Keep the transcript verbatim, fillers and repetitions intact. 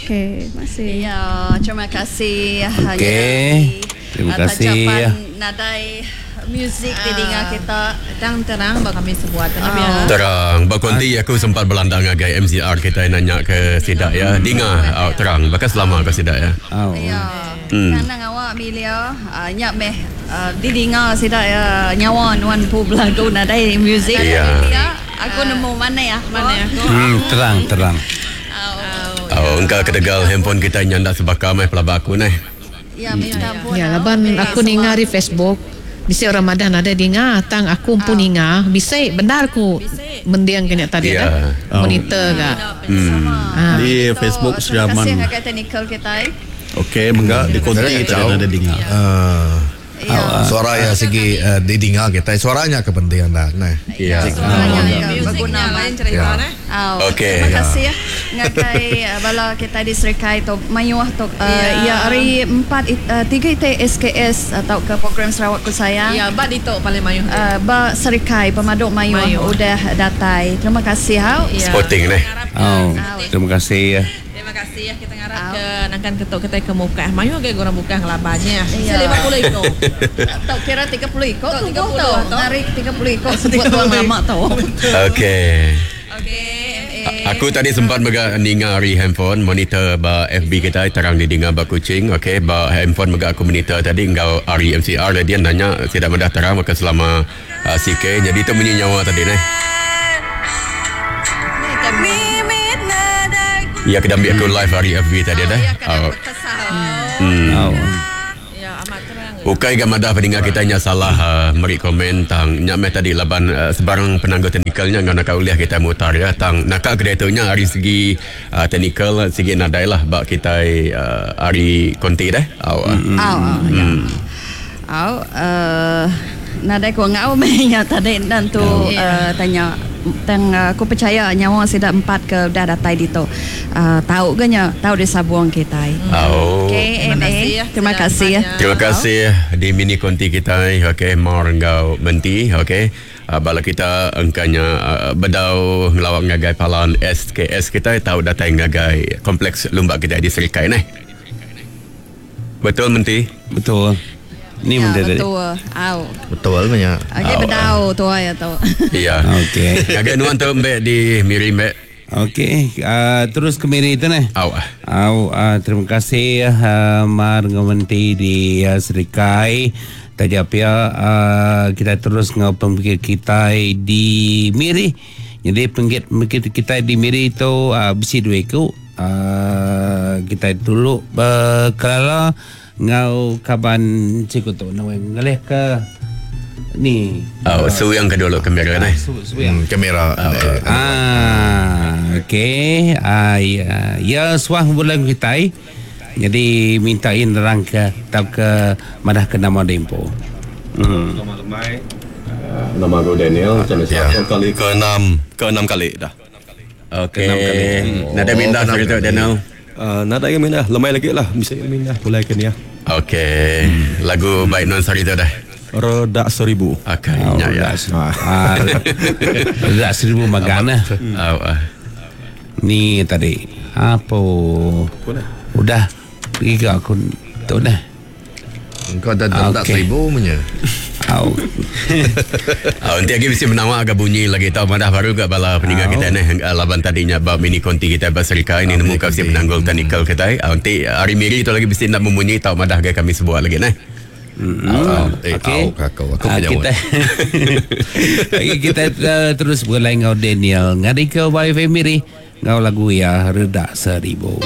Okey, terima kasih. Ya, terima kasih. Okey. Terima kasih. Nadai muzik di dinga kita. Terang terang ba kami sebuat terang ya. Terang. Bakonti aku sempat berlandang ngagai M C R kita nanya ke sidak ya. Dinga oh, terang. Bahkan selama ke sidak ya. Oh. Ya. Hmm. Nang awak Milia uh, nyak meh uh, di dinga sidak ya nyawa nuan pu belagu nadai muzik. Ya. Aku nemu mana ya? Mana ya? Hmm, terang terang. Oh, engkau ketegal handphone kita nyandak sebakar meh pelaba aku neh. Ya, minta ampun. Ya, laban aku ninga di Facebook. Bisa orang madah nada dinga, tang aku pun ninga. Bisa benar ku mendiang kena tadi Ya. dah. Monitor ga. Hmm. Ah. Di Facebook Terima Sriaman. kasih ngagai teknikal kita. Okey, mengga di konti kita ada dinga. Uh, Ya. suara ya segi uh, didinga kita suaranya kepentingan dah nah. Ya. Suaranya Musiknya berguna lain cerita Ya. neh. Oh, Okey. Terima kasih ya ngagai bala kita di Serikai tu mayuh tu uh, Ya. ya hari empat uh, tiga I T S K S atau ke program Sarawak Ku Sayang. Ya, ba ditu paling mayuh. Uh, ba Serikai pemaduk mayuh, Mayuh. udah datai. Terima kasih hau. Ya. Sporting neh. Oh, terima kasih ya. Terima kasih ya kita ngarap ke nangkan ketuk kita ke muka. Mayuh ge orang buka ngelabannya. Ya. lima puluh iko. Tau kira tiga puluh iko tu tiga puluh tu. tu. Hari tiga puluh iko sebut tuang lama tu. Okey. Okey. Aku tadi sempat mega ninga hari handphone monitor ba F B kita terang di dinga ba Kuching, okey, ba handphone mega aku monitor tadi enggau R M C R dia nanya tidak madah terang maka selama uh, C K jadi tu bunyi nyawa tadi neh. Ya kena ambil aku live hari F B tadi dah. Oh. Hmm. Oh. Ya, amat terang. Ukai ga madah pendengar kita nya salah uh, meri komen tang nya meh tadi laban uh, sebarang penangguh teknikalnya ngau nak uliah kita mutar ya tang nakal kedai nya hari segi uh, teknikal segi nadai lah bak kita uh, hari konti dah. Au. Au. Ya. Au uh, nadai ku ngau meh nya tadi dan tu uh, tanya tang aku percaya nyawa sida empat ke dah datai di tu. Uh, tahu ke nya tahu di sabuang kita. Oh. Okey, Terima kasih ya. Terima kasih ya. Terima kasih di mini konti kita okey Mar enggau Menti okey. Uh, bala kita engkanya uh, bedau ngelawak ngagai palan S K S kita tahu datai ngagai kompleks lumba kita di Serikai neh. Betul Menti? Betul. Ni Ya, benda tadi. betul. Au. Betul banyak. Okey bedau tu ya tu. Ya. Okey. Ngagai nuan tu mbek di Miri mbek. Okey, uh, terus ke Miri tu neh. Au. Au, uh, terima kasih uh, Mar ngau Menti di uh, Serikai. Taja pia uh, kita terus ngau pemikir kita di Miri. Jadi pemikir kita di Miri tu uh, bisi dua iku. Uh, kita dulu berkelala ngau kaban cikgu tu naweng ngalih ke ni. Au, su yang kedua lo kamera neh. Su, su yang Hmm, kamera. Eh, Ah, okey. Ah, ya, ya suah bulan kita. Jadi minta in nerang ke tau ke madah ke nama dempo. Hmm. Selamat lemai. Nama aku Daniel. Macam Ya. kali ke enam, ke enam kali dah. Okey. Nada minda Oh, sorry tu Daniel. Uh, nada yang mindah, lemai lagi lah. Bisa mindah mulai ke ni ya. Okey. Lagu baik non sorry tu dah. Redak seribu. Okey, Oh, ya ya. Ah, redak seribu magana. Au. ah. Ni tadi. Apa? Udah pergi ke aku tu dah. Kau dah tak Okey. seribu punya. Au. Ah, nanti lagi mesti menawak agak bunyi lagi tahu madah baru gak bala peninggal kita ni laban tadinya bab mini konti kita berserika ini nemu kau si penanggul teknikal kita. Ah, nanti hari miri tu lagi mesti nak memunyi tahu madah gak kami sebuat lagi nah. Hmm. Eh, Okey. au, aku aku Ah, punya kita Okey, kita uh, terus berlai ngau Daniel ngari ke Y F M Miri ngau lagu ya redak seribu.